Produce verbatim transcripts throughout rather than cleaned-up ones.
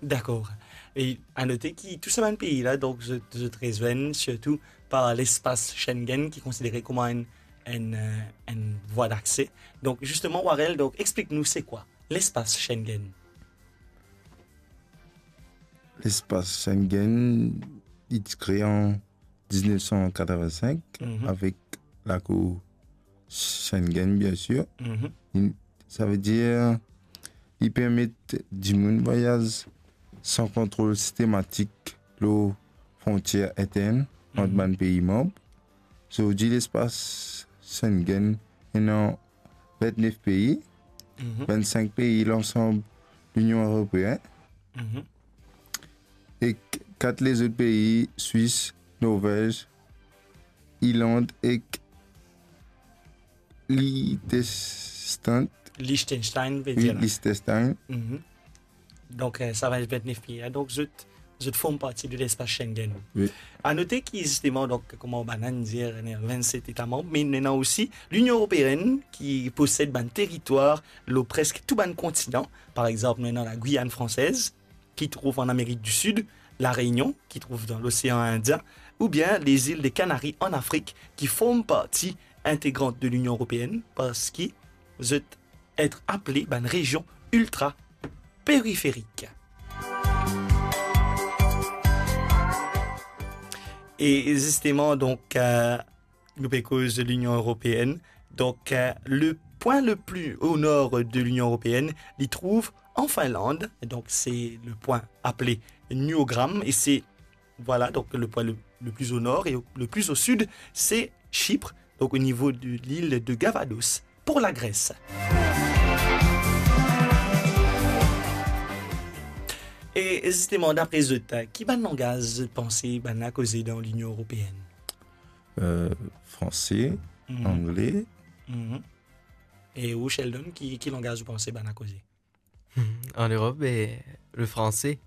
Dakor. E a note ki tou sa bann pei la, donk, zot, zot rezwenn sirtou par lespas Schengen, ki konsidere kouma enn, enn, eh, enn vwa dakse. Donk, zisteman, Warel, donk, explik nou, se kwa lespas Schengen? Lespas Schengen, li ti kree an diznef san katreven-sink, Mhm. avek lakour Schengen, bien sir. Mhm. Li, savedir, li permet dimoun vwayaz san kontrol sistematik lor frontier intern ant Mhm. bann pei manb. Zordi, lespas Schengen ena vintnef pei, Mhm. vinn-sink pei lansam Linion Eropeen, Mhm. ek kat lezot pei, Swis, Norvez, Irland ek Liechtenstein. Liechtenstein, ve Wi, dir la. Liechtenstein. Mhm. Donk, eh, sa vinn vintnef pei la. Donk, zot, zot form parti de lespas Schengen. Wi. A note ki, zisteman, donk, kouma bann dir, ena vinn-set eta manb, me ena osi Linion Eropeen ki posed bann teritwar lor preske tou bann kontinan. Par exanp, nou ena la Guyane française, ki trouv an Amerik di Sid, La Réunion, ki trouv dan Losean Indien, oubien lezil de Kanari an Afrik, ki form parti integrant de Linion Eropeen, parski zot et apele bann rezion iltra periferik. E zisteman, donk, eh, nou pe koz Linion Eropeen. Donk, eh, le pwin le pli o nor de Linion Eropeen, li trouv an Finland. Donk, se le pwin apele Nuogram, e se, vwala, donk, le pwin le, le pli o nor, e le pli o sid, se Chypre, donk o nivo de lil de Gavados, pou Lagres. E zisteman, dapre zot, ki bann langaz zot panse bann la koze dan Linion Eropeen? Euh, franse, Mhm. angle. Mhm. E ou, Sheldon, ki, ki langaz ou panse bann la koze? An Erop, be, le franse.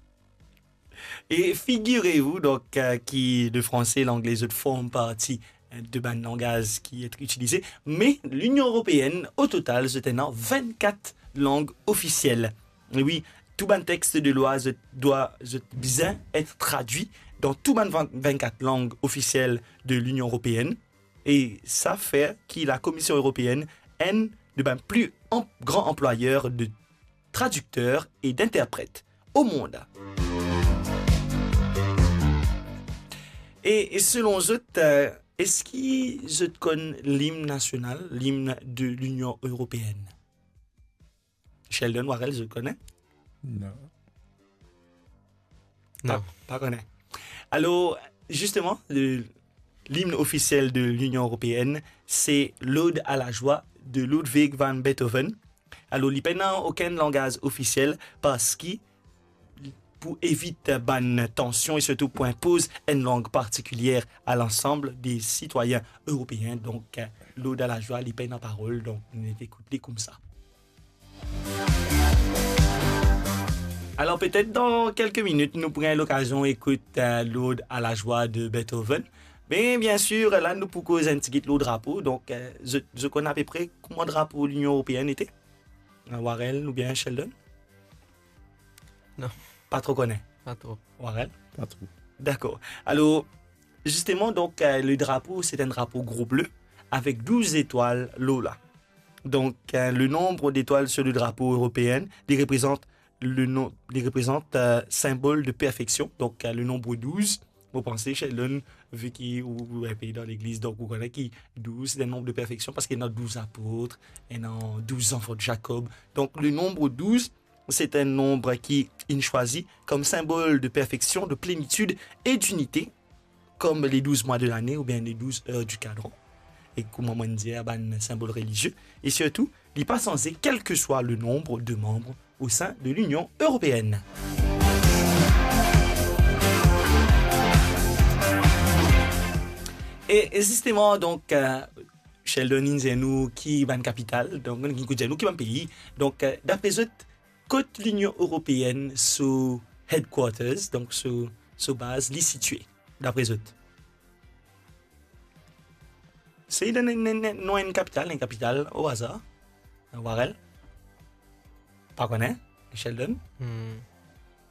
E figirez-vous, donk, eh, ki le franse e langle, zot form parti, eh, de bann langaz ki et itilize. Me Linion Eropeen, o total, zot ena vinn-kat lang ofisiel. E wi, tou bann text de lwa, zot dwa, zot bizin et tradwi dan tou bann vinn, vinn-kat lang ofisiel de Linion Eropeen. E sa fer ki la Komision Eropeen enn de bann pli an-, gran anplwayer de tradikter e d'interpret o mond. E, e selon zot, eh, eski zot konn lim nasional, lim de Linion Eropeen? Sheldon, Warel, zot kone? Non. Non. Pa, pa kone. Alor, zisteman, le, lim ofisiel de Linion Eropeen, se L'Ode à la joie de Ludwig van Beethoven. Alor, li pena okenn langaz ofisiel parski pou evit bann tansion e sirtou pou inpoz enn lang partikilier a lansam de sitwayin eropeen. Donk, L'Ode à la joie, li pena parol, donk nou ekout li koumsa. Alor, petet dan kelke minit, nou pou gagn lokazion ekout, eh, L'Ode à la joie de Beethoven. Me, bien sir, la, nou pou koz enn tigit lor drapo. Donk, eh, zot, zot konn apepre kouma drapo Linion Eropeen ete? Eh, Warel oubien Sheldon? Non. Pa tro kone? Pa tro. Warel? Pa tro. Dakor. Alor, zisteman, donk, eh, le drapo, se enn drapo gro ble avek douz zetwal lor la. Donk, eh, le nonb detwal sir le drapo eropeen, li reprezant le non-, li reprezant, eh, sinbol de perfeksion. Donk, eh, le nonb douz, mo panse, Sheldon, vi ki ou, ou enpe dan legliz, donk ou kone ki douz, se enn nonb de perfeksion, parski ena douz apot, ena douz zanfan de Jakob. Donk, le nonb douz, se enn nonb ki inn swazir kom sinbol de perfeksion, de plenitid e dinite, kom le douz mwa de lane oubien le douz er di kadran. E kouma mo dir, bann sinbol relizie. E sirtou, li pa sanze, kelseswa le nonb de manb o sin de Linion Eropeen. E, e zisteman, donk, eh, Sheldon inn dir nou ki bann kapital, donk, inn dir nou ki bann pei. Donk, eh, dapre zot, kot Linion Eropeen so headquarters, donk so, so baz, li sitie, dapre zot? Sey donn enn, enn, enn, non enn kapital, enn kapital o azar. Warel? Pa kone? Sheldon? Hmm.